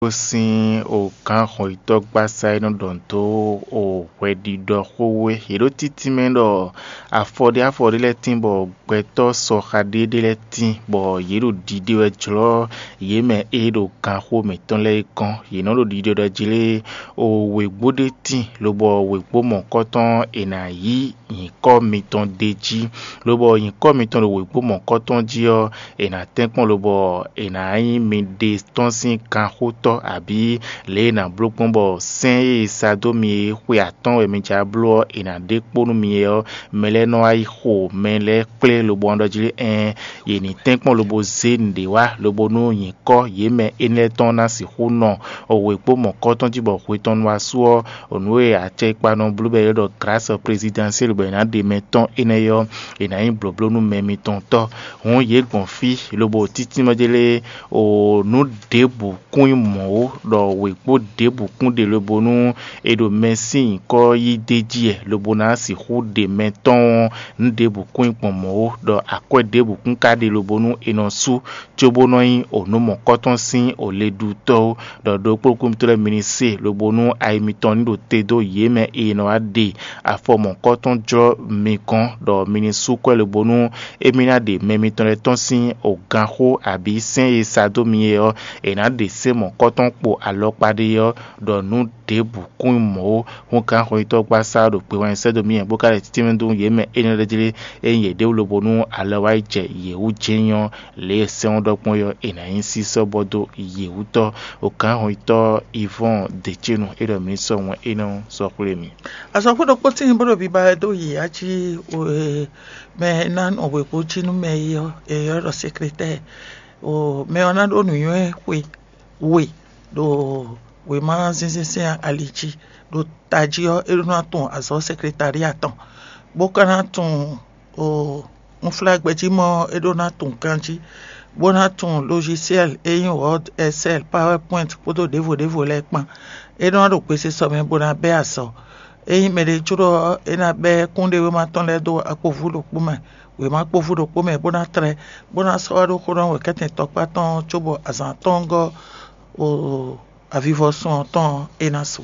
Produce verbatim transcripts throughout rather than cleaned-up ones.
Gosín ogǎn hɔnyitɔ́gbasá e nɔ ɖɔ dó o hwɛɖiɖɔ xó é. Yě ɖo títí mɛ ɖɔ afɔ ɖé afɔ ɖé lɛ́ɛ tín bɔ gbɛtɔ́ sɔxa ɖé ɖé lɛ́ɛ tín bɔ yě ɖo ɖiɖe wɛ jlɔ́ yě mɛ e ɖo ganxó mǐtɔn lɛ́ɛ é gɔ́n. Yě nɔ ɖo ɖiɖe ɖɔ jlé o wěgbó ɖé tín, lobɔ wěgbó mɔ̌kɔtɔn è nǎ yí nyǐkɔ mitɔn ɖ'é jí, lobɔ nyǐkɔ mitɔn ɖo wěgbó mɔ̌kɔtɔn jí ɔ́, è nǎ tɛ́nkpɔ́n lobɔ è nǎ nyí miɖée tɔn sín ganxótɔ́, abǐ lě e è nǎ bló gbɔn bɔ sɛ́n e è sa dó mi é xwe atɔ́ɔ́n wɛ mi jǎ bló ɔ́, è nǎ ɖe kpó nú mi é ɔ́, mɛ lɛ́ɛ nɔ wá yi xo mɛ lɛ́ɛ kplé lobɔ nɔ ɖɔ jí: Ɛɛn, yě ní tɛ́nkpɔ́n lobo zé nǔɖé wá, lobo nú nyǐkɔ yě mɛ énɛ́ lɛ́ɛ tɔn ná sixú nɔ wěgbó mɔ̌kɔtɔn jí bɔ hwe tɔn nu wá su ɔ́, nǔ e acɛkpa nɔ bló bɔ è ɖɔ grâce présidentielle bɔ è nǎ ɖe mɛ tɔn énɛ́ ɔ́, è nǎ nyí blǒbló nú mɛ mitɔn tɔ́. Hǔn yě gbɔn fí lobo títí mɛ jélé o nǔ ɖěbǔ kún nyí mɔ̌ ó, ɖɔ wěkpó ɖěbǔ kún ɖe lobo nú è ɖo mɛ sín nyǐkɔ yí d'é jí wɛ, lobo ná sixú ɖe mɛ tɔn ɔ́, nǔ ɖěbǔ kún nyí gbɔn mɔ̌ ó, ɖɔ akwɛ́ ɖěbǔ kún ka ɖe lobo nú è nɔ sú, cóbó nɔ nyí o nǔ mɔ̌kɔtɔn sín o leɖútɔ́ ó, ɖɔ ɖokpó kúnmítɔ́ lɛ́ɛ mi ní se, lobo nú ayi mitɔn ní ɖo te dó yě mɛ e nɔ wá ɖe afɔ mɔ̌kɔtɔn jlɔ́ mi gɔ́n, ɖɔ mi ní sú kwɛ́ lobo nú émí ná ɖe mɛ mitɔn lɛ́ɛ tɔn sín o ganxó abǐ sɛ́n e sa dó mi é ɔ́, è nǎ ɖe sɛ́n mɔ̌kɔtɔn kpo alɔkpa ɖé ɔ́, ɖɔ nǔ ɖěbǔ kún nyí mɔ̌ ó. Hǔn gǎn xɔnyitɔ́gbasá ɔ́ ɖo gbe wɛn sɛ́ dó mì bó ka ɖe títí nú yě mɛ énɛ́ lɛ́ɛ jlé, ényí yě ɖe wú lobo nú alɔ wá yi jɛ yě wú jɛ́n nyɔ́, lě e sɛ́n ɔ́ ɖɔ gbɔn é ɔ́, è nǎ nyí sísɔ́ bɔ dó yě wú tɔ́. O gǎn xɔnyitɔ́ Ivɔ́ɔn Decénu é ɖɔ mǐ sɔ́ wɛn énɛ́ ɔ́ sɔ́ xwlé mì. Azɔ̌xwé ɖokpó tíin bó ɖo biba wɛ dó yě jí mɛ e ná nɔ wěgbó jí nú mɛ é ɔ́, è ylɔ́ ɖɔ sekretɛ́ɛ. Mɛ ɔ́ ná ɖó nǔnywɛ́ xwe we ɖo wěma zínzínsɛ́n ali jí, ɖo tají ɔ́, é ɖó ná tunwun azɔ̌ sekretali atɔn, bó ka ná tunwun unflágbɛjímɔ ɔ́, é ɖó ná tunwun ganjí, bó ná tunwun logiciel e nyí Word, Excel, PowerPoint kpódó ɖěvo ɖěvo lɛ́ɛ kpán. É nɔ wá ɖo gbesisɔ mɛ bó ná bɛ́ azɔ̌. Ényí mɛɖé jló ɔ́, é ná bɛ́ kúnɖéwéma tɔn lɛ́ɛ dó akpovu ɖokpó mɛ, wěma kpovu ɖokpó mɛ, bó ná tlɛ, bó ná sɔ́ wá ɖó xó nú wɛ̌kɛ́tɛn tɔkpá tɔn ɔ́ cóbɔ azǎn atɔ́ɔ́ngɔ́ avivɔsun ɔ́ tɔn ɔ́, é ná su.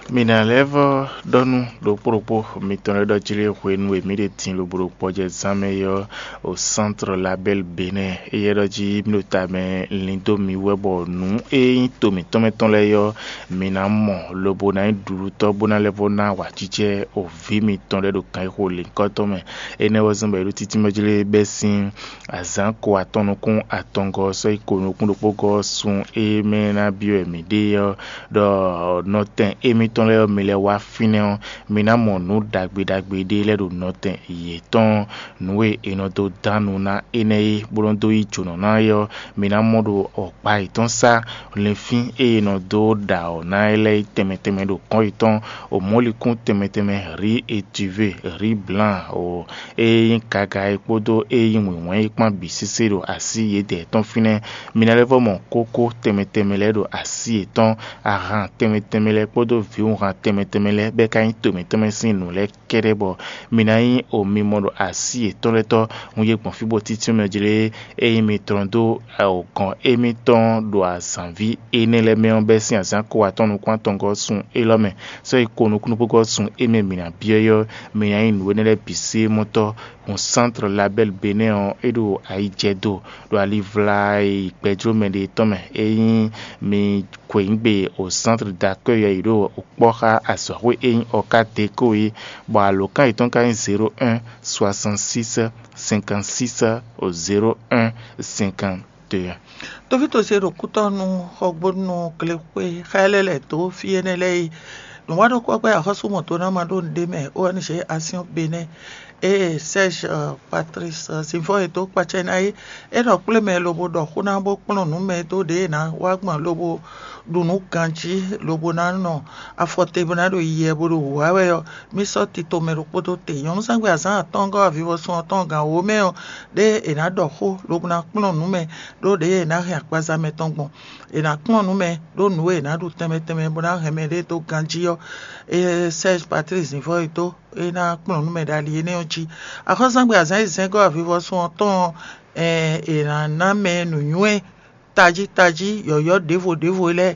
Mǐ ná lɛ́ vɔ́ ɖɔ nú ɖokpó ɖokpó mitɔn lɛ́ɛ ɖɔ jí lé hwenu e mǐ ɖe din lobo ɖo gbɔjɛzán mɛ é ɔ́, o Centre Label Bénin, éyɛ́ ɖɔ jí mǐ ɖo ta mɛ lin dó mi wú wɛ bɔ nǔ e nyí to mǐtɔn mɛ tɔn lɛ́ɛ ɔ́, mǐ ná mɔ lobo ná nyí ɖuɖutɔ́ bó ná lɛ́ vɔ́ ná awǎjijɛ o vǐ mitɔn lɛ́ɛ ɖo gǎnyixo lǐnkɔ́tɔn mɛ. Énɛ́ wɛ zɔ́n bɔ è ɖo títí mɛ jlé bɛ́ sín azǎn ko atɔn nukún atɔngɔ́ ɔ́ sɔ́ yi ko nukún ɖokpógɔ́ ɔ́ sun e mɛ ná byɔ́ wɛ mǐ ɖe ɔ́, ɖɔ nɔtɛn émítɔn lɛ́ɛ ɔ́, mi lɛ́ wá fínɛ́ ɔ́, mi ná mɔ nǔ ɖagbe ɖagbe ɖé lɛ́ɛ ɖo nɔtɛn yětɔn. Nǔ e è nɔ dó dán nu ná énɛ́ é, bó nɔ́ dó yí jǒnɔ ná é ɔ́, mi ná mɔ ɖo ɔ̌kpa yětɔn sá. Linfín e è nɔ dó ɖa ɔ̌ ná é lɛ́ɛ tɛnmɛ tɛnmɛ ɖo kɔ́n yětɔn, omɔ̌likún tɛnmɛ tɛnmɛ, riz étuvé, riz blanc, o e nyí gaga é kpódó e nyí wǐnwɛ́n é kpán bǐ sésé ɖo así yědɛɛ tɔn fínɛ́. Mi ná lɛ́ vɔ́ mɔ kókó tɛnmɛ tɛnmɛ lɛ́ɛ ɖo así yětɔn, ahan tɛnmɛ tɛnmɛ lɛ́ɛ kpódó vǐwunhan tɛnmɛ tɛnmɛ lɛ́ɛ bɛ́ ka nyí to mǐtɔn mɛ sín nǔ lɛ́ɛ kɛ́ɖɛ́ bɔ mi ná nyí omimɔ ɖo así yětɔn lɛ́ɛ tɔn. Un yi gbɔn fí bó títí mɛ jlé ényí mi tlɔ́n dó gɔ̌n émítɔn ɖo azǎnví énɛ́ lɛ́ɛ mɛ ɔ́ bɛ́ sín azǎn ko atɔn nukún atɔngɔ́ sun élɔ́ mɛ, sɔ́ yi ko nukúnnú kpókpó sun émí mǐ ná byɔ́ é ɔ́, mi ná nyí nǔ énɛ́ lɛ́ɛ bǐ sí mɔtɔ́. Hun Centre Label Bénin ɔ́, é ɖo ayi jɛ do ɖo ali vla e yi gbɛjló mɛ ɖe tɔn mɛ. Ényí mi xweyǐgbe o Centre d'accueil ɔ́ yi ɖo kpɔ́ xá azɔ̌xwé e nyí Ɔká Deko é, bɔ alǒkan yětɔn ka nyí zéro un soixante six cinquante six zéro un cinquante deux. Tovítɔ́ ce ɖo kútɔ́ nú xɔgbónú glexwé xá ɛ lɛ́ lɛ̌ dó fí énɛ́ lɛ́ɛ yi. Nǔwaɖokpɔ́gbɛ́ axɔ́súmɔtɔ́ ná ma ɖó nǔɖé mɛ, O N G Action Bénin, ée Serge Patrice Zinvɔ́ e dó kpacɛ ná é. É nɔ kplé mɛ lobo ɖɔ xó ná bó kplɔ́n nǔ mɛ dó ɖě e ná wá gbɔn lobo ɖu nǔ ganjí lobo ná nɔ afɔ te bó ná ɖo yiyɛ bó ɖo wǔ wá wɛ ɔ́, mì sɔ́ tito mɛ ɖokpó dó te. Nyɔ̌nuzángbe azǎn atɔ́ɔ́ngɔ́ avivɔsun ɔ́ tɔn gǎn wǒ mɛ ɔ́, ɖé è nǎ ɖɔ xó lobo ná kplɔ́n nǔ mɛ, ɖó ɖě è nǎ hɛn akpaza mɛ tɔn gbɔn. È nǎ kplɔ́n nǔ mɛ ɖó nǔ e è nǎ ɖu tɛnmɛ tɛnmɛ bó ná hɛn mɛɖé dó ganjí ɔ́, é Serge Patrice Zinvɔ́ e dó é ná kplɔ́n nǔ mɛ ɖo ali énɛ́ ɔ́ jí. Axɔ́súzángbe azǎn e zɛ́ngɔ́ avivɔsun ɔ́ tɔn ɔ́, è nǎ ná mɛ nǔnywɛ́ tají tají yɔ̌yɔ́ ɖěvo ɖěvo lɛ́ɛ,